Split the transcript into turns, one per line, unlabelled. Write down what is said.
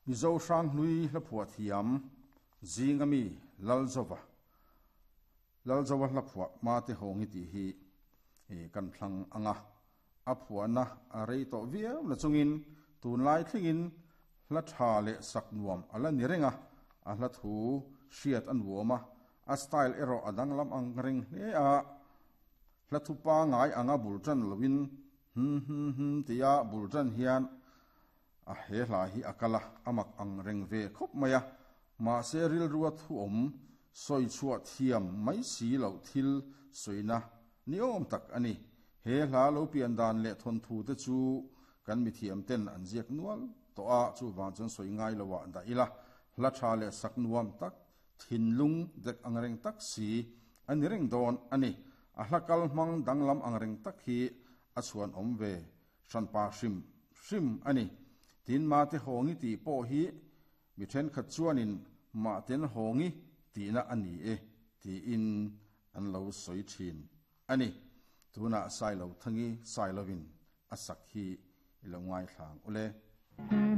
Mizo hranghlui hla phuah thiam zinga mi Lalzova, Lalzova hla phuah Mate Hawngi tih hi kan thlang ang a. A phuahna a rei tawh viau na chungin tunlai thlengin hla tha leh sak nuam a la ni reng a, a hla thu hriat a nuam a, a style erawh a danglam ang reng hle a. Hla thu pangai anga bul tan loin hum hum hum tia bul tan hian a he hla hi a kal a, a mak ang reng ve khawp mai a. Mahse rilrua thu awm sawi chhuah thiam mai si loh thil sawina ni awm tak a ni. He hla lo pian dan leh thawnthu te chu kan mithiam ten an ziak nual tawh a, chuvang chuan sawi ngai lo ah dah ila, hla tha leh sak nuam tak, thinlung dek ang reng tak si a ni reng dawn a ni. A hla kal hmang danglam ang reng tak hi a chhuan awm ve hranpa hrim hrim a ni. Tin, Mate Hawngi tih pawh hi mi thenkhat chuanin Mahten Hawngi tihna a ni e tiin an lo sawi thin a ni. Tunah Sailo Thangi Sailovin a sak hi i lo ngaithlang ule.